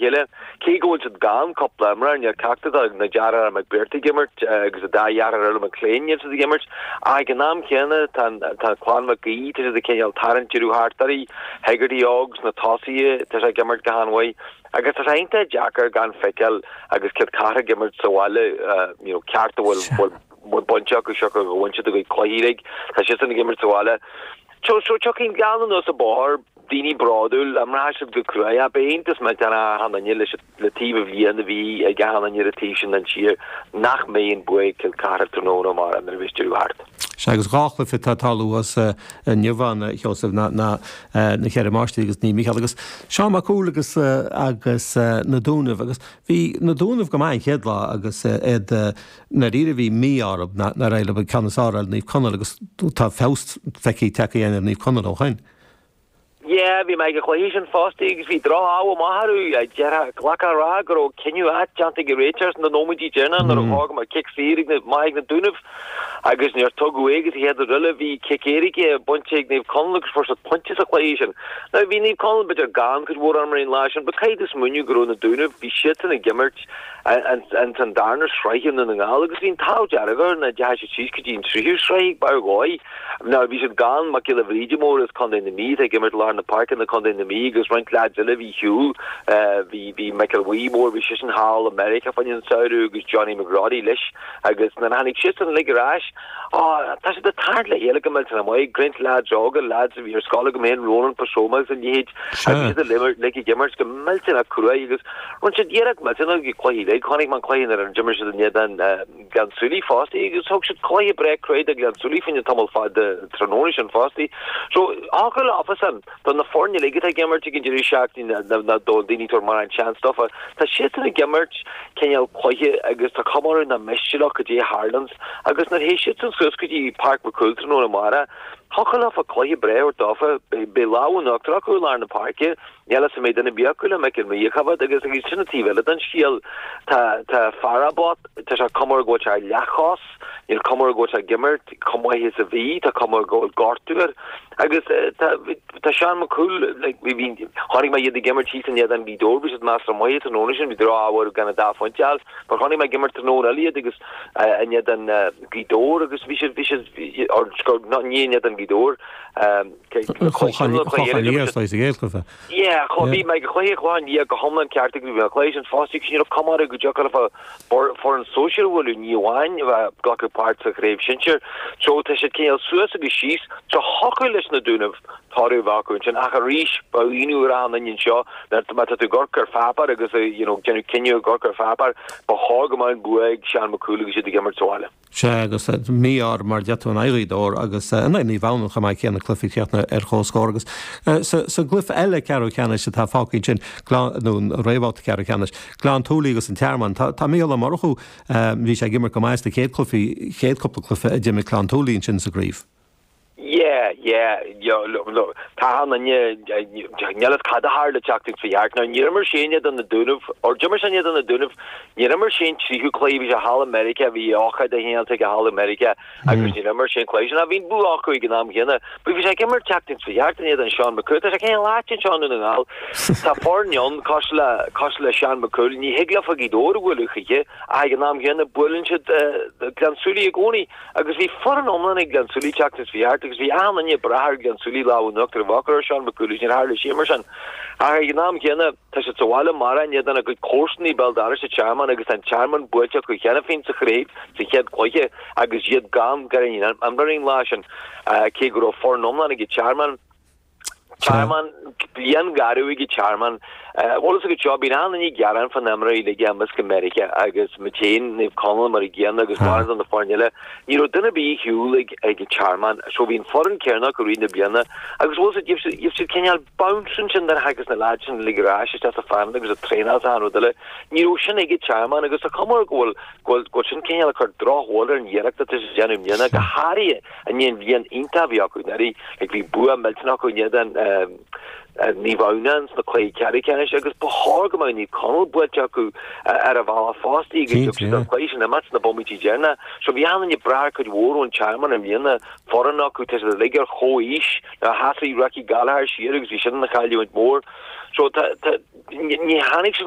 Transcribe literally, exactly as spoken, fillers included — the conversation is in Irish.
chéile. Cé go bhfuil siad gan cúpla imreoir, níl ceachtar de na deartháireacha McBrearty ag imirt agus an dá dheartháir eile McLean, níl siad ag imirt. Ach ag an am céanna tá tá clann McGee, tá siad ag cineál tarraingt deireadh thart orthu, Hegarty óg sna tosaithe, tá sé ag imirt go han-mhaith. Agus tá sé iontach deacair gan feiceáil agus Cill Chartha ag imirt sa bhaile, you know, ceart a bhfuil bhfuil bhfuil bainte acu seo go bhfuil siad a gcuid cluichí uilig, tá siadsan ag imirt sa bhaile. So so tiocfaidh an Gleann anuas an bóthar, daoine bródúil, imreoidh siad go cruaidh, ach beidh iontas millteanach ar achan duine leis le taobh a bhliain a bhí ag achan duine ar an taobh sin den tír nach mbeidh an bua ag Cill Chartha tráthnóna amárach nuair a bheas deireadh thart. Sea, agus dhá chluiche atá ag tarlú thuas inniu ann, a Sheosaimh, ná na Ceithre Máistrí agus Naomh Mícheál agus Seán Mac Cumhaill agus agus na Dúnaibh agus bhí na Dúnaibh go maith an chéad lá agus iad ndáiríre bhí mí-ádh orthu nár éirigh leo an ceann is fearr ar Naomh Conaill agus tá feabhas feicthe tagtha ar Naomh Conaill ó shin. Yeah, bhí mé ag an chluiche sin fosta agus bhí droch-ádh amach orthu. Déarfá, ghlacfá a rá go raibh cinneadh ait déanta ag an réiteoir sna nóiméidí deireanacha nuair a thóg mé cic saor ag na, maith ag na Dúnaibh agus níor tugadh é agus an chéad rud eile bhí cic éirice bainte ag Naomh Conaill agus fuair siad pointe sa chluiche sin. Now bhí Naomh Conaill b'fhéidir gan cuid mhór imreoirí an lá sin but caithfidh tú smaoineamh go raibh na Dúnaibh, bhí siadsan ag imirt ins an darna sraith i nDún na nGall agus bhí an t-ádh dearg orthu nach ndeachaigh siad síos go dtí an tríú sraith ag barr dhóigh. Now bhí siad gan Mac Giolla Bhríde Mór as Contae na Mí atá ag imirt lár na páirce do Chontae na Mí agus roinnt leaids eile a bhí ar shiúl. Bhí bhí Michael Bhuí Mór, bhí seisean thall i Meiriceá fá choinne an samhradh agus Johnny McGroddy leis agus nuair a tháinig siadsan uilig ar ais, á, tá siad ag tarraingt le chéile go millteanach maith, roinnt leaids óga, leaids a bhí ar scoil agam féin, Ronan Pasoma agus a leithéid, agus iad uilig ag imirt go millteanach cruaidh agus rinne siad iarracht millteanach ag cluichí uilig. Chonaic mé an cluiche nuair a d'imir siad in éadan Ghleann tSúilí fosta agus thug siad cluiche breá cruaidh do Ghleann tSúilí fá choinne tamall fada tráthnóna sin fosta. So thiocfadh leofasan, do na foirne uilig atá ag imirt ag an deireadh seachtaine ná do daoine tabhairt mórán seans dófa, tá siadsan ag imirt cineál cluiche agus tá cuma orthu nach miste leo cad é a tharlaíonns agus nuair a théis siadsan suas go dtí Páirc McCool tráthnóna amárach, thiocfadh leofa cluiche breá a thabhairt dófa, beidh lámh in uachtar acu i lár na páirce. Níl fhios an mbeidh duine ar bith acu le Michael Maí a choimhéad agus agus sin an taobh eile den scéal. Tá tá Farabot, tá sé cuma air go bhfuil sé ar leathchos, níl cuma air go bhfuil sé ag imirt chomh maith is a bhí, tá cuma air go bhfuil gortú air. Agus tá tá Seán McCool, like, bhí bhí chonaic mé iad ag imirt thíos in éadan Ghaoth Dobhair, bhí siad measartha maith tráthnóna sin, bhí droch-ádh orthu gan an dá phointe a fháil, mar chonaic mé ag imirt tráthnóna eile iad agus in éadan Ghaoth Dobhair agus bhí siad bhí siad or ní in éadan Ghaoth Dobhair, Clochán Liath sa gcéad Yeah, bhí mé ag cluiche Chlochán Liath go hiomlán ceart ag bhí an cluiche sin fosta agus ní raibh cuma orthu go dtiocfadh leofa foireann sóisir a bhualadh, ní amháin a bheith glacadh páirt sa chraobh shinsir. So tá siad cineál suas agus síos. So thiocfadh leis na Dúnaibh toradh a bheith acu ansin ach arís ba ionadh ar achan duine anseo má tá tú ag amharc ar pháipéar agus you know déanamh cinneadh ag amharc ar pháipéar ba chóir go mbeadh an bua ag Seán Mac Cumhaill agus iad ag imirt sa bhaile. Sea, agus mí-ádh mar a deir tú in aghaidh Ghaoth Dobhair agus in aghaidh Naomh Adhamhnáin chomh maith céanna cluiche críochnaithe ar comhscór agus sa gcluiche eile ceathrú ceannais atá fágtha ansin, nó an réamhbhabhta ceathrú ceannais, Gleann tSúilí agus an Tearmann. Tá Mícheál Ó Murchú, bhí sé ag imirt go maith sna chéad cluichí, chéad cúpla cluiche a d'imir Gleann tSúilí ansin sa gcraobh. Yeah, yeah, tá an duine, níl fhios cad a tharla an tseachtain seo thart. Now níor imir sé in éadan na Dúnaibh, or d'imir sé in éadan na Dúnaibh, níor imir sé an tríú cluiche, bhí sé thall i Meiriceá, bhí ócáid de chineál aige thall i Meiriceá agus níor imir sé an cluiche sin. Ach bhí an bua acu ag an am chéanna. But bhí sé ag imirt an tseachtain seo thart in éadan Seán McCool. Tá sé cineál ait anseo i nDún na nGall. Tá foirne ann cosúil le, cosúil le Seán McCool, ní thig leofa Gaoth Dobhair a bhualadh choíche ach ag an am chéanna buaileann siad Gleann tSúilí i gcónaí. Agus bhí foireann iomlán ag Gleann tSúilí an tseachtain seo thart agus bhí achan duine ag brath ar Ghleann tSúilí lámh in uachtar a bheith acu ar Seán McCool agus níor tharla sé mar sin. Ach ag an am chéanna, tá siad sa bhaile amárach in éadan a gcuid comharsanaí béal dorais an Tearmann agus tá an Tearmann buailte acu cheana féin sa chraobh sa chéad chluiche agus iad gan gan imreoirí an lá sin, cé go raibh foireann iomlán ag an Tearmann. Tearmann, bliain gharbh ag an Tearmann. Bhfuil fhios agat seo, bíonn achan duine ag gearán fá na imreoirí uilig a imeos go Meiriceá agus muid féin, Naomh Conaill mar an gcéanna agus mórán de na foirne eile. Ní raibh duine ar bith ar shiúl ag ag an Tearmann. So bhí an foireann céanna acu i rith na bliana agus bhfuil fhios agat, gheibh siad gheibh siad cineál bounce ansin nuair a thagas na lads sin uilig ar ais isteach sa phainéal agus ag traenáil is achan rud eile. Ní raibh sin ag an Tearmann agus tá cuma air go bhfuil go bhfuil go bhfuil sin cineál ag cur drochbhail ar an iarracht atá siad ag déanamh i mbliana, go háirithe i ndiaidh an bhliain iontach a bhí acu anuraidh. Like bhí bua millteanach acu in éadan Naomh Adhamhnáin sna cluichí ceathrú ceannais agus ba chóir go mbeadh Naomh Conaill buailte acu ar an bhealach fosta agus thug siad an cluiche sin imeacht sna bomaití deireanacha. So bhí achan duine ag brath ar cuid mhór ón Tearmann i mbliana, foireann acu, tá siad uilig ar chomhaois, nuair a sheasaigh Ricky Gallagher siar agus bhí sin ina chailliúint mhór. So tá, tá, ní tháinig siad